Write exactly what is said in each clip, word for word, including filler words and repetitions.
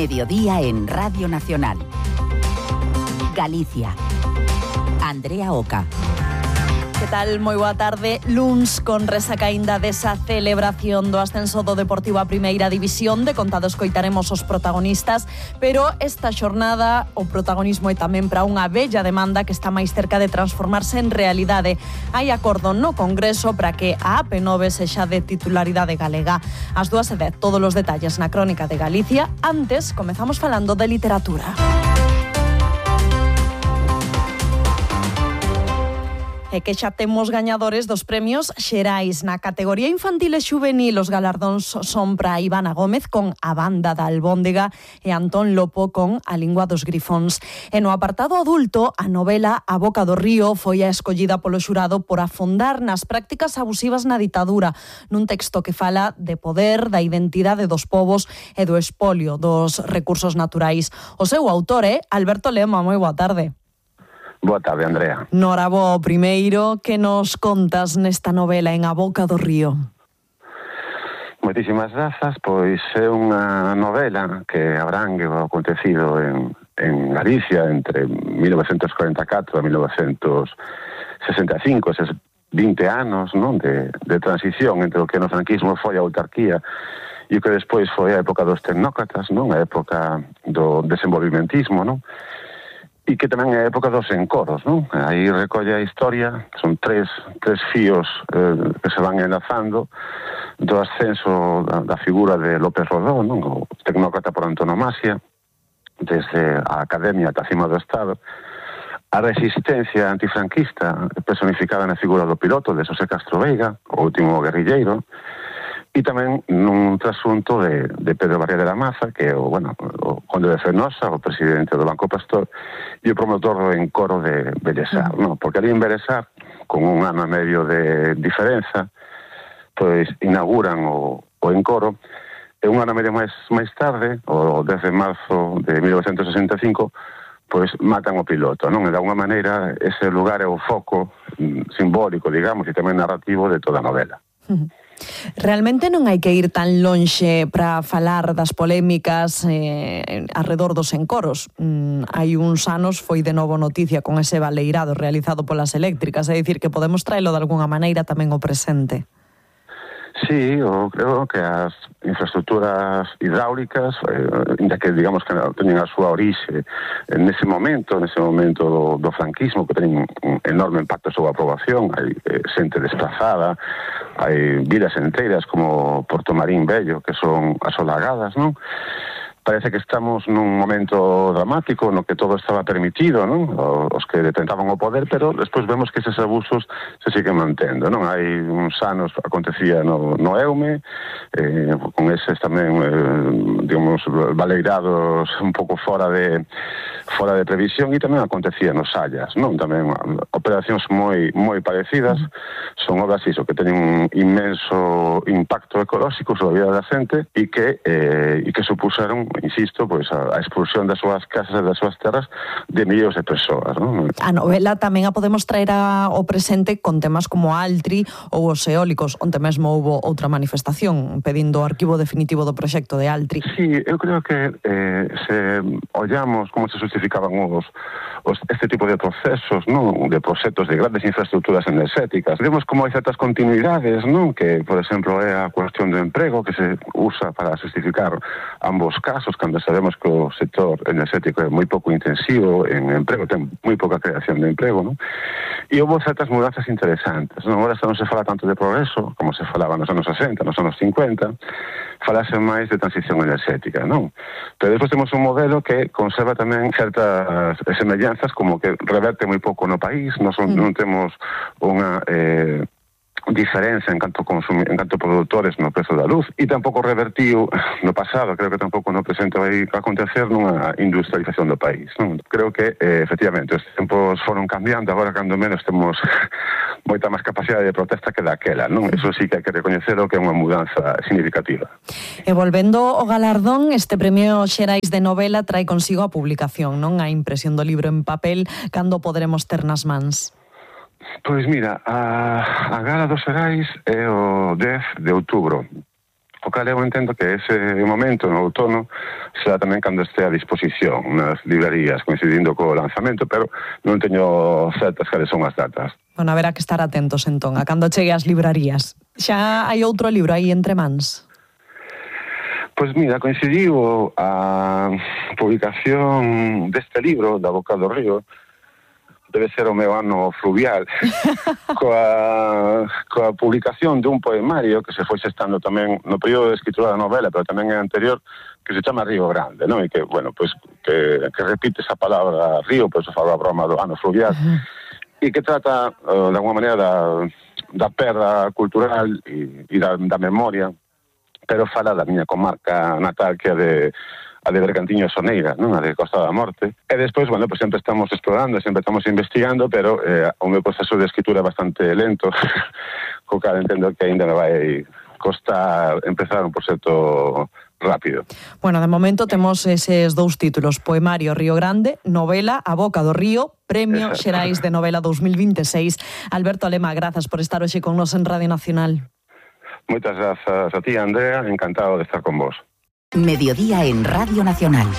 Mediodía en Radio Nacional. Galicia. Andrea Oca. Que tal? Moi boa tarde. Luns con resaca aínda desa celebración do ascenso do Deportivo a Primeira División. De contado escoitaremos os protagonistas, pero esta xornada o protagonismo é tamén para unha bella demanda que está máis cerca de transformarse en realidade. Hai acordo no Congreso para que a A P nove sexa de titularidade galega. As dúas e dez, todos os detalles na Crónica de Galicia. Antes, comezamos falando de literatura. E que xa temos gañadores dos premios Xerais. Na categoría infantil e xuvenil, os galardóns son para Ivana Gómez con A Banda da Albóndega e Antón Lopo con A Lingua dos Grifóns. E no apartado adulto, a novela A Boca do Río foi a escollida polo xurado por afondar nas prácticas abusivas na ditadura, nun texto que fala de poder, da identidade dos povos e do espolio dos recursos naturais. O seu autor é Alberto Lema. Moi boa tarde. Boa tarde, Andrea. Norabo, primeiro, que nos contas nesta novela en A Boca do Río? Moitísimas grazas, pois é unha novela que abrangue o acontecido en, en Galicia entre mil novecentos cuarenta e catro e mil novecentos sesenta e cinco, eses vinte anos, non, de, de transición entre o que no franquismo foi a autarquía e o que despois foi a época dos tecnócratas, non, a época do desenvolvimentismo, non? E que tamén é a época dos encoros, non? Aí recolle a historia, son tres, tres fíos eh, que se van enlazando do ascenso da, da figura de López Rodó, non? O tecnócrata por antonomasia, desde a academia ata cima do Estado, a resistencia antifranquista personificada na figura do piloto de Xosé Castro Veiga, o último guerrilleiro, e tamén nun trasunto de, de Pedro Barriga de la Maza, que é o, bueno, o conde de Fenosa, o presidente do Banco Pastor, e o promotor do encoro de Bellesar, non? Porque ali en Bellesar, con un ano e medio de diferenza, pois inauguran o, o encoro, e un ano e medio máis, máis tarde, o dez de marzo de mil novecentos sesenta e cinco, pois matan o piloto, non? E de alguma maneira ese lugar é o foco simbólico, digamos, e tamén narrativo de toda a novela. Realmente non hai que ir tan lonxe para falar das polémicas eh, arredor dos encoros. Mm, hai uns anos foi de novo noticia con ese baleirado realizado polas eléctricas, é dicir, que podemos traelo de alguna maneira tamén ao presente. Sí, eu creo que as infraestructuras hidráulicas, eh, inda que digamos que teñen a súa orixe nese momento, nese momento do, do franquismo, que teñen un enorme impacto sobre a poboación, hai eh, xente desplazada, hai vilas enteiras como Porto Marín Vello, que son asolagadas, non? Parece que estamos nun momento dramático no que todo estaba permitido, non? Os que detentaban o poder, pero despois vemos que eses abusos se siguen mantendo, non? Hai uns anos acontecía no, no Eume, eh, con eses tamén, eh, digamos, baleirados un pouco fora de fora de previsión, e tamén acontecía nos Sallas, non? Tamén operacións moi moi parecidas, son obras iso, que teñen un inmenso impacto ecolóxico sobre a vida da xente e que, eh, e que supuxeron, insisto, pois a, a expulsión das súas casas e das súas terras de millóns de persoas, non? A novela tamén a podemos traer ao presente con temas como a Altri ou os eólicos, onde mesmo houbo outra manifestación pedindo o arquivo definitivo do proxecto de Altri. Sí, eu creo que eh, se ollamos como se justificaban os, os, este tipo de procesos, non? De proxectos de grandes infraestructuras enerxéticas, vemos como hai certas continuidades, non? Que, por exemplo, é a cuestión do emprego que se usa para justificar ambos casos, cando sabemos que o sector enerxético é moi pouco intensivo en emprego, ten moi pouca creación de emprego, non? E houve certas mudanzas interesantes, non? Agora non se fala tanto de progreso como se falaba nos anos sesenta, nos anos cincuenta, falase máis de transición enerxética, non? Pero despois temos un modelo que conserva tamén certas semellanzas, como que reverte moi pouco no país, non, son, mm. non temos unha eh, diferenza en canto consumi, en canto produtores no prezo da luz, e tampouco revertiu no pasado, creo que tampouco no presente vai acontecer nunha industrialización do país, non? Creo que, eh, efectivamente, os tempos foron cambiando, agora cando menos temos moita máis capacidade de protesta que daquela, non? Eso sí que hai que recoñecelo, que é unha mudanza significativa. E volvendo ao galardón, este premio Xerais de novela trae consigo a publicación, non? A impresión do libro en papel, cando poderemos ter nas mans? Pois mira, a, a gala dos Xerais é o dez de outubro. O cal eu entendo que ese momento no outono será tamén cando este a disposición nas librerías, coincidindo co lanzamento, pero non teño certas cales son as datas. Bueno, haberá que estar atentos entón a cando chegue ás librarías. Xa hai outro libro aí entre mans? Pois mira, coincidiu a publicación deste libro, Da Boca do Río, debe ser o meu ano fluvial, coa, coa publicación dun poemario que se foi xestando tamén no período de escritura da novela, pero tamén é anterior, que se chama Río Grande, non? E que, bueno, pois, que, que repite esa palabra río, pois se fala a broma do ano fluvial, uh-huh. e que trata, uh, de alguma maneira, da, da perda cultural e, e da, da memoria, pero fala da miña comarca natal, que é de a de Bergantiño e Soneira, non? A de Costa da Morte. E despois, bueno, pues sempre estamos explorando, sempre estamos investigando, pero eh, o meu proceso de escritura é bastante lento, co cal entendo que ainda me vai costar empezar un proxecto rápido. Bueno, de momento temos eses dous títulos, Poemario Río Grande, novela A Boca do Río, Premio Exacto. Xerais de Novela dos mil vinte e seis. Alberto Lema, grazas por estar hoxe con nos en Radio Nacional. Moitas grazas a ti, Andrea, encantado de estar con vos. Mediodía en Radio Nacional.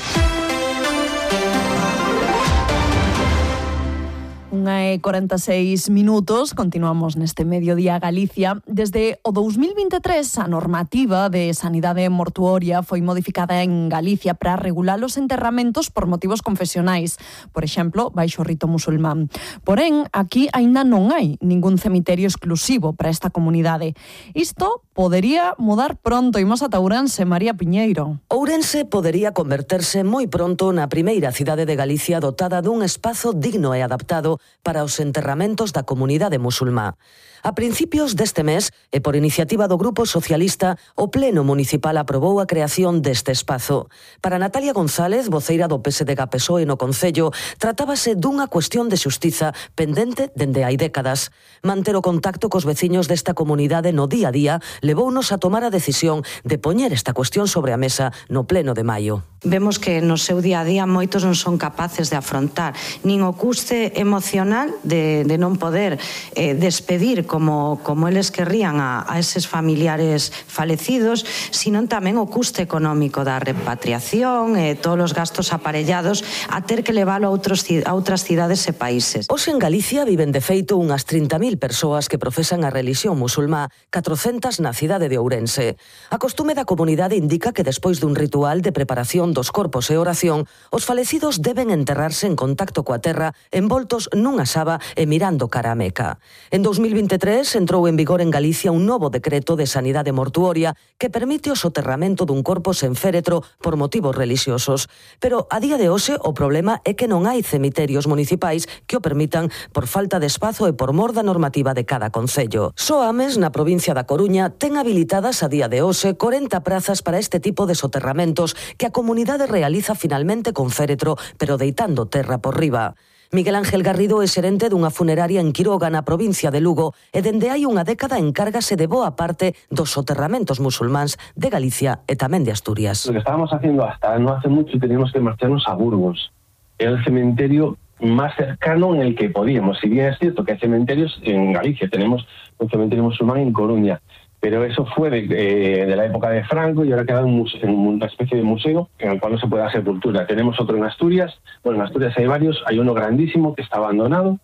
Unha e corenta e seis minutos, continuamos neste Mediodía Galicia. Desde o dous mil vinte e tres, a normativa de sanidade mortuoria foi modificada en Galicia para regular os enterramentos por motivos confesionais, por exemplo, baixo o rito musulmán. Porén, aquí aínda non hai ningún cemiterio exclusivo para esta comunidade. Isto podería mudar pronto. Imos ata Ourense, María Piñeiro. Ourense podería converterse moi pronto na primeira cidade de Galicia dotada dun espazo digno e adaptado para os enterramentos da comunidade musulmá. A principios deste mes, e por iniciativa do Grupo Socialista, o Pleno Municipal aprobou a creación deste espazo. Para Natalia González, voceira do P S D G P S O E no Concello, tratábase dunha cuestión de xustiza pendente dende hai décadas. Manter o contacto cos veciños desta comunidade no día a día levounos a tomar a decisión de poñer esta cuestión sobre a mesa no Pleno de maio. Vemos que no seu día a día moitos non son capaces de afrontar nin o custe emocional de, de non poder eh, despedir como, como eles querrían a, a eses familiares falecidos, sino tamén o custe económico da repatriación e eh, todos os gastos aparellados a ter que leválo a, outros, a outras cidades e países. Hoxe en Galicia viven de feito unhas trinta mil persoas que profesan a religión musulmá, catrocentas na cidade de Ourense. A costume da comunidade indica que despois dun ritual de preparación dos corpos e oración, os falecidos deben enterrarse en contacto coa terra, envoltos nunha saba e mirando cara a Meca. En dous mil vinte e tres entrou en vigor en Galicia un novo decreto de sanidade mortuoria que permite o soterramento dun corpo sen féretro por motivos relixiosos. Pero a día de hoxe o problema é que non hai cemiterios municipais que o permitan por falta de espazo e por mor da normativa de cada concello. Só Ames, na provincia da Coruña, ten habilitadas a día de hoxe corenta prazas para este tipo de soterramentos que a comunidade realiza finalmente con féretro, pero deitando terra por riba. Miguel Ángel Garrido é xerente dunha funeraria en Quiroga, na provincia de Lugo, e dende hai unha década encárgase de boa parte dos soterramentos musulmáns de Galicia e tamén de Asturias. Lo que estábamos haciendo hasta no hace mucho teníamos que marcharnos a Burgos. Era el cementerio más cercano en el que podíamos. Si bien es cierto que hay cementerios en Galicia, tenemos un cementerio musulmán en Coruña, pero eso fue de, eh, de la época de Franco y ahora queda un museo, una especie de museo en el cual no se puede hacer sepultura. Tenemos otro en Asturias, bueno, en Asturias hay varios, hay uno grandísimo que está abandonado,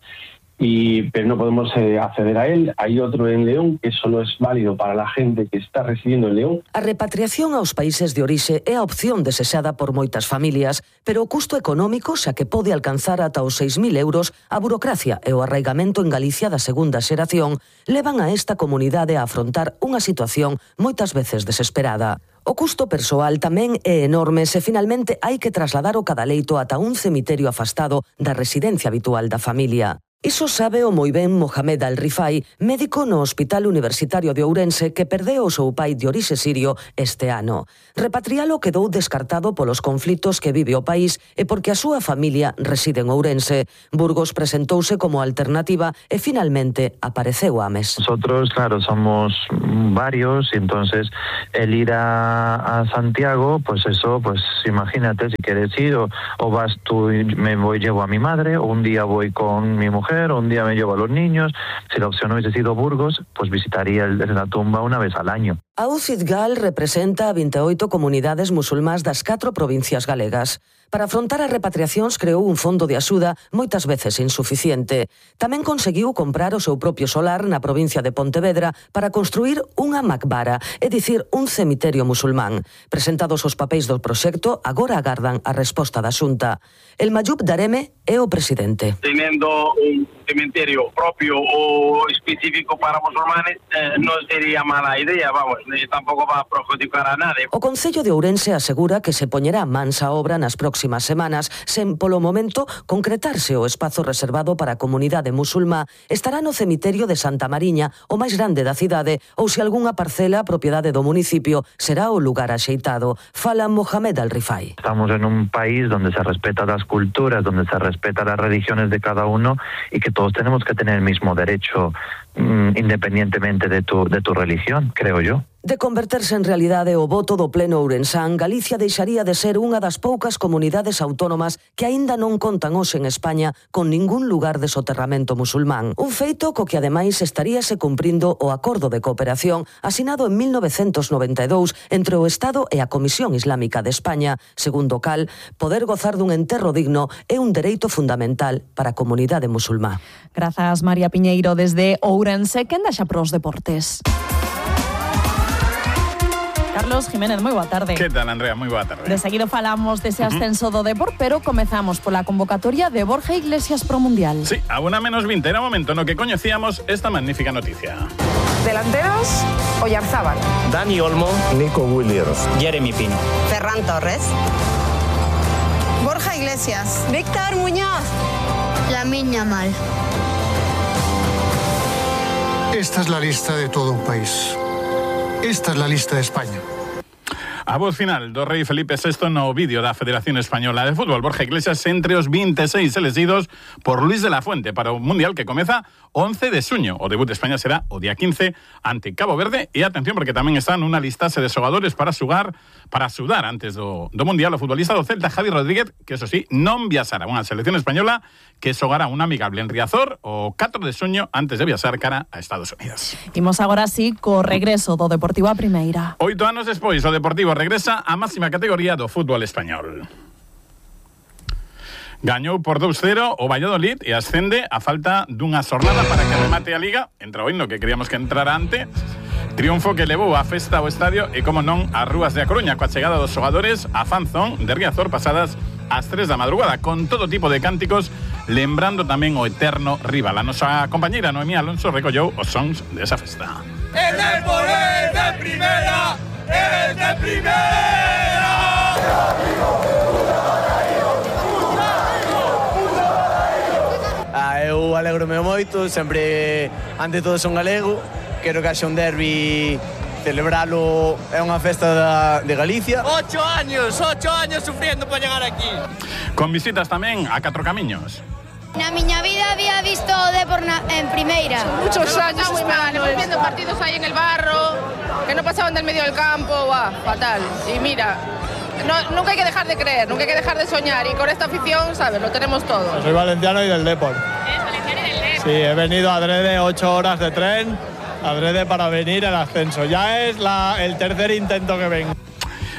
y, pero no podemos eh, acceder a él. Hay otro en León que solo es válido para la gente que está residiendo en León. A repatriación aos países de orixe é a opción desexada por moitas familias, pero o custo económico, xa que pode alcanzar ata os seis mil euros, a burocracia e o arraigamento en Galicia da segunda xeración levan a esta comunidade a afrontar unha situación moitas veces desesperada. O custo persoal tamén é enorme se finalmente hai que trasladar o cadaleito ata un cemiterio afastado da residencia habitual da familia. Iso sabe o moi ben Mohamed Al-Rifai, médico no Hospital Universitario de Ourense que perdeu o seu pai de orixe sirio este ano. Repatrialo quedou descartado polos conflitos que vive o país e porque a súa familia reside en Ourense. Burgos presentouse como alternativa e finalmente apareceu Ames. Nosotros, claro, somos varios y entonces el ir a, a Santiago, pues eso, pues imagínate, si quieres ir o, o vas tú y me voy, llevo a mi madre, o un día voy con mi mujer, un día me llevo a los niños. Si la opción hubiese sido Burgos, pues visitaría el, la tumba una vez al año. A U C I D Gal representa a vinte e oito comunidades musulmás das catro provincias galegas. Para afrontar as repatriacións creou un fondo de axuda moitas veces insuficiente. Tamén conseguiu comprar o seu propio solar na provincia de Pontevedra para construir unha macbara, é dicir, un cemiterio musulmán. Presentados os papéis do proxecto, agora agardan a resposta da Xunta. El Mayub Dareme é o presidente. Teniendo un cementerio propio o específico para musulmanes, eh, non sería mala idea, vamos, ni tampouco va a perjudicar a nadie. O Concello de Ourense asegura que se poñerá mansa obra nas próximas semanas, sen polo momento concretarse o espazo reservado para a comunidade musulmá estará no cemiterio de Santa Mariña, o máis grande da cidade, ou se algunha parcela propiedade do municipio será o lugar axeitado. Fala Mohamed Al-Rifai. Estamos en un país donde se respeta las culturas, donde se respeta las religiones de cada uno y que todos tenemos que tener el mismo derecho mmm, independientemente de tu, de tu religión, creo yo. De converterse en realidade o voto do pleno ourensán, Galicia deixaría de ser unha das poucas comunidades autónomas que aínda non contan hoxe en España con ningún lugar de soterramento musulmán. Un feito co que ademais estaríase cumprindo o acordo de cooperación asinado en mil novecentos noventa e dous entre o Estado e a Comisión Islámica de España, segundo o cal, poder gozar dun enterro digno é un dereito fundamental para a comunidade musulmá. Grazas, María Piñeiro, desde Ourense. Quen deixa pros deportes? Carlos Jiménez, moi boa tarde. Que tal, Andrea? Moi boa tarde. De seguido falamos dese ascenso do Depor, pero comezamos pola convocatoria de Borja Iglesias pro Mundial. Sí, a una menos veinte era momento no que coñecíamos esta magnífica noticia. Delanteros, Oyarzábal, Dani Olmo, Nico Williams, Jeremy Pino, Ferran Torres, Borja Iglesias, Víctor Muñoz, Lamine Yamal. Esta es la lista de todo un país. Esta es la lista de España. A voz final do rei Felipe sexto no vídeo da Federación Española de Fútbol. Borja Iglesias entre os vinte e seis elegidos por Luis de la Fuente para o Mundial que comeza once de xuño. O debut de España será o día quince ante Cabo Verde. E atención, porque tamén están unha listase de xogadores para xugar, para sudar antes do, do Mundial. O futbolista do Celta, Javi Rodríguez, que eso sí, non viaxará unha selección española que xogará un amigable en Riazor o catro de xuño antes de viaxar cara a Estados Unidos. Imos agora sí co regreso do Deportivo a Primeira. Oito anos despois, o Deportivo regresa á máxima categoría do fútbol español. Gañou por dos cero o Valladolid e ascende a falta dunha xornada para que remate a Liga. Entra hoy no que queríamos que entrara antes. Triunfo que levou a festa ao estadio e, como non, as rúas de A Coruña, coa chegada dos xogadores a Fanzón de Riazor pasadas ás tres da madrugada, con todo tipo de cánticos, lembrando tamén o eterno rival. A nosa compañeira Noemí Alonso recollou os sons desa festa. ¡El Depor es de primera! ¡Es de primera! Ah, eu alegrome moito, sempre, ante todo, son galego. Quero que haxa un derbi, celebralo, é unha festa da, de Galicia. Ocho años, ocho años sufriendo para llegar aquí. Con visitas tamén a Catro Camiños. Na miña vida había visto o Depor en primeira. Muchos años muy mal, hemos viendo partidos ahí en el barro, que no pasaban del medio del campo, guau, fatal. Y mira, no, nunca hay que dejar de creer, nunca hay que dejar de soñar. Y con esta afición, ¿sabes? Lo tenemos todo. Soy valenciano y del Depor. ¿Eres valenciano y del Depor? Sí, he venido adrede ocho horas de tren, adrede para venir al ascenso. Ya es la, el tercer intento que vengo.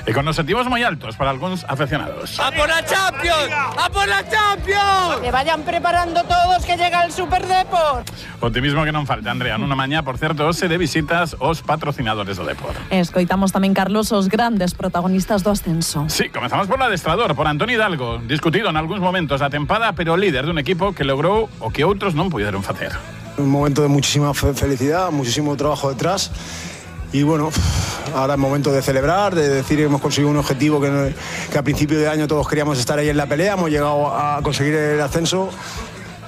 E con objetivos moi altos para algúns aficionados. ¡A por la Champions! ¡A por la Champions! Que vayan preparando todos que llega el Super Depor. Optimismo que non falta, Andrea. Nunha mañá, por certo, hoxe de visitas os patrocinadores do Depor. Escoitamos tamén, Carlos, os grandes protagonistas do ascenso. Sí, comezamos por adestrador, por Antoni Hidalgo, discutido en algúns momentos da tempada, pero líder dun equipo que logrou o que outros non puderon facer. Un momento de muchísima fe felicidad, muchísimo trabajo detrás. Y bueno, ahora es momento de celebrar, de decir que hemos conseguido un objetivo que, que a principio de año todos queríamos estar ahí en la pelea, hemos llegado a conseguir el ascenso.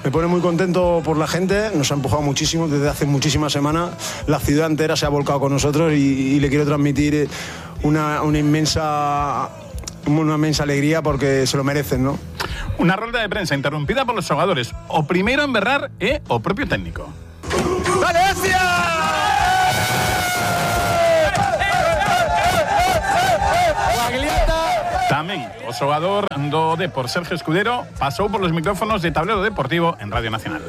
Me pone muy contento por la gente, nos ha empujado muchísimo desde hace muchísimas semanas, la ciudad entera se ha volcado con nosotros y, y le quiero transmitir una, una inmensa... una inmensa alegría porque se lo merecen, ¿no? Una rolda de prensa interrumpida por los jugadores. O primeiro en berrar é o propio técnico. ¡Valencia! Tamén o xogador do Depor, Sergio Escudero, pasou por los micrófonos de Tablero Deportivo en Radio Nacional.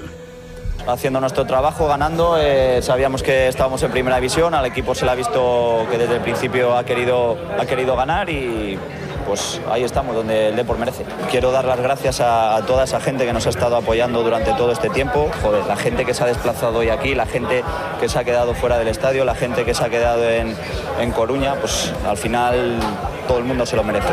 haciendo nuestro trabajo, ganando. Eh, sabíamos que estábamos en primera división, al equipo se le ha visto que desde el principio ha querido, ha querido ganar y pues ahí estamos, donde el Depor merece. Quiero dar las gracias a, a toda esa gente que nos ha estado apoyando durante todo este tiempo. Joder, la gente que se ha desplazado hoy aquí, la gente que se ha quedado fuera del estadio, la gente que se ha quedado en, en Coruña, pues al final todo el mundo se lo merece.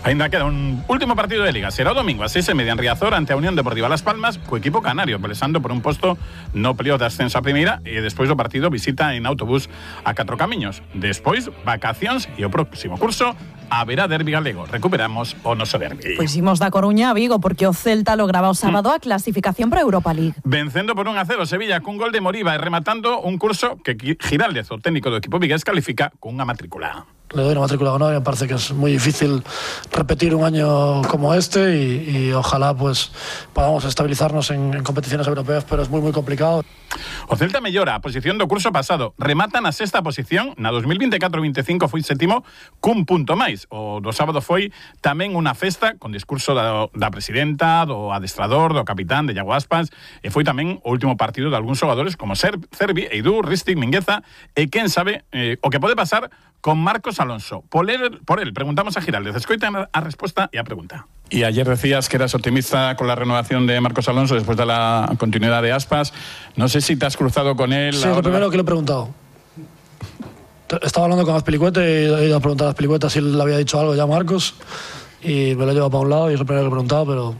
Ainda queda un último partido de Liga. Será o domingo a seis e media en Riazor ante a Unión Deportiva Las Palmas, co equipo canario, pelexando por un posto no playoff de ascenso a primeira, e despois do partido visita en autobús a Catro Camiños. Despois, vacacións e o próximo curso haberá derbi galego. Recuperamos o noso derbi. Pois imos da Coruña a Vigo porque o Celta lograba o sábado a clasificación para a Europa League. Vencendo por un a cero Sevilla cun gol de Moriba e rematando un curso que Giraldez, o técnico do equipo vigués, califica cunha matrícula. Le doy una matrícula ganada, me parece que es muy difícil repetir un año como este y, y ojalá pues podamos estabilizarnos en, en competiciones europeas, pero es muy muy complicado. O Celta mellora a posición do curso pasado, remata na sexta posición, na dos mil veinticuatro veinticinco foi sétimo cun punto máis. O do sábado foi tamén unha festa con discurso da, da presidenta, do adestrador, do capitán de Iago Aspas, e foi tamén o último partido de algúns xogadores como Ser, Cervi, Eidú, Ristic, Mingueza, e quen sabe eh, o que pode pasar con Marcos Alonso. Por él, por él preguntamos a Giraldez. Escoiten a respuesta y a pregunta. Y ayer decías que eras optimista con la renovación de Marcos Alonso después de la continuidad de Aspas. No sé si te has cruzado con él. Sí, es lo primero que le he preguntado. Estaba hablando con Azpilicueta y he ido a preguntar a Azpilicueta si le había dicho algo ya a Marcos y me lo he llevado para un lado y es lo primero que le he preguntado, pero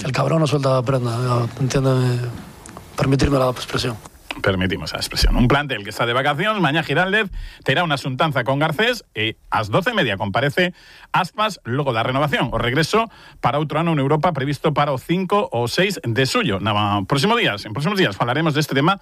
el cabrón no suelta prenda. Entiéndeme, permitirme la expresión. Permitimos a expresión. Un plantel que está de vacacións, mañá Giraldez terá unha xuntanza con Garcés e ás doce e media comparece Aspas logo da renovación. O regreso para outro ano en Europa previsto para o cinco ou seis de xullo. Na próximo días, en próximos días falaremos deste tema,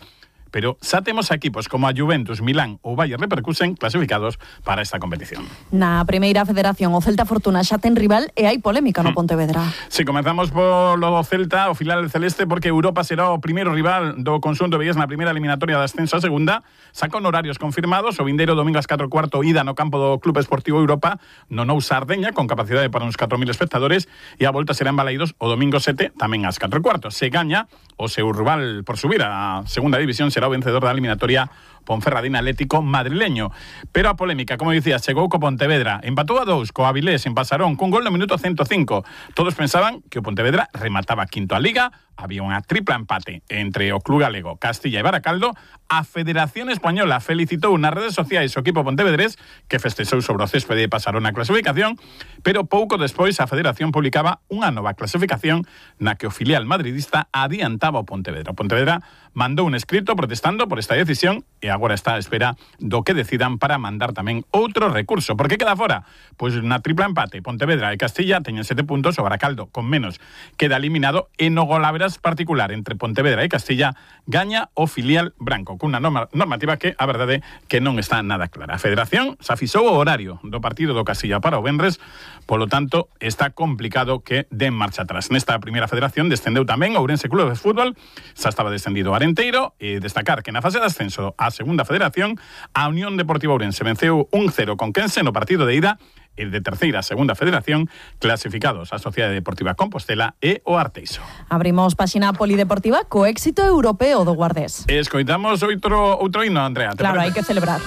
pero xa temos equipos como a Juventus, Milán ou Bayer Leverkusen clasificados para esta competición. Na primeira federación, o Celta Fortuna xa ten rival e hai polémica no Pontevedra. Si, sí, comenzamos polo Celta, o filial celeste, porque Europa será o primeiro rival do conxunto vigués na primeira eliminatoria de ascenso a segunda. Saca horarios confirmados, o vindeiro domingo ás catro e cuarto ida no campo do Club Esportivo Europa, no Nou Sardeña, con capacidade para uns catro mil espectadores, e a volta será en Balaídos o domingo sete, tamén ás catro e cuarto. Se gaña, o seu rival por subir a segunda división será o vencedor da eliminatoria Ponferradina Atlético madrileño. Pero a polémica, como dicías, chegou co Pontevedra, empatou a dous co Avilés en Pasarón cun gol no minuto ciento cinco. Todos pensaban que o Pontevedra remataba quinto a Liga, había unha tripla empate entre o club galego, Castilla e Baracaldo. A Federación Española felicitou nas redes sociais o equipo pontevedrés que festexou sobre o céspede de Pasarón a clasificación, pero pouco despois a Federación publicaba unha nova clasificación na que o filial madridista adiantaba o Pontevedra. O Pontevedra mandou un escrito protestando por esta decisión e agora está a espera do que decidan para mandar tamén outro recurso. Por que queda fora? Pois na tripla empate, Pontevedra e Castilla teñen sete puntos, o Baracaldo con menos queda eliminado e no golaveras particular entre Pontevedra e Castilla gaña o filial branco, cunha norma, normativa que a verdade que non está nada clara. A Federación xa fixou o horario do partido do Castilla para o venres, polo tanto está complicado que den marcha atrás. Nesta primeira federación descendeu tamén o Ourense Club de Fútbol, xa estaba descendido o Arenteiro, e destacar que na fase de ascenso á segunda federación a Unión Deportiva Ourense venceu un cero con Quense no partido de ida, e de terceira a segunda federación clasificados a Sociedade Deportiva Compostela e o Arteixo. Abrimos páxina polideportiva co éxito europeo do Guardés. Escoitamos outro, outro himno, Andrea. Claro, hai que celebrar.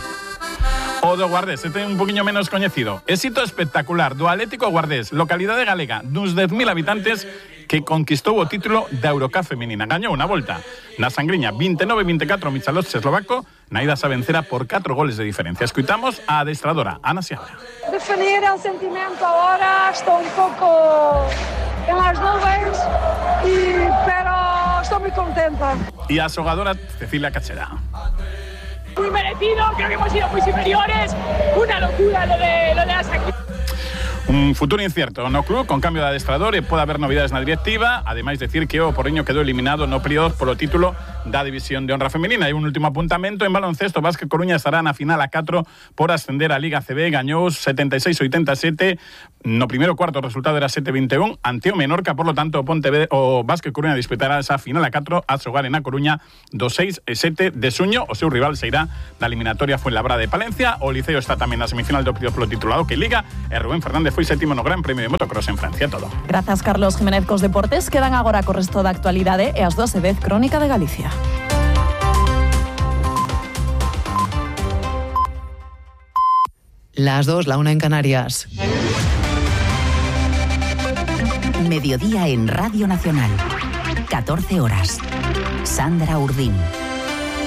O do Guardés, este é un poquinho menos coñecido. Éxito espectacular do Atlético Guardés, localidade galega, duns dez mil habitantes, que conquistou o título da Eurocup femenina. Gañou unha volta na Sangriña vinte e nove a vinte e catro Michalovce eslovaco, na ida xa vencera por catro goles de diferencia. Escoitamos a adestradora Ana Seabra. Definir el sentimento ahora, estou un pouco en las nubes, y, pero estou moi contenta. E a xogadora Cecilia Cachera. Muy merecido, creo que hemos sido muy superiores, una locura lo de, lo de la Sangriña. Un futuro incierto no club con cambio de adestrador e pode haber novidades na directiva. Ademais, decir que o Porriño quedou eliminado no playoff polo título da División de Honra Femenina. E un último apuntamento en baloncesto, Vázquez Coruña estará na final a catro por ascender a Liga C B. Gañou setenta e seis a oitenta e sete. No primeiro cuarto o resultado era sete a vinte e un ante o Menorca, por lo tanto o Pontevedra, o Vázquez Coruña disputará esa final a catro a xogar en A Coruña do seis e sete de xuño. O seu rival se irá da eliminatoria Fuenlabrada de Palencia. O Liceo está tamén na semifinal do playoff polo titulado que Liga, e Rubén Fernández foi séptimo no Gran Premio de Motocross en Francia. Todo. Grazas, Carlos Jiménez. Cos deportes quedan agora co resto da actualidade e as doce e dez Crónica de Galicia. Las dos, la una en Canarias. Mediodía en Radio Nacional. catorce horas. Sandra Urdín.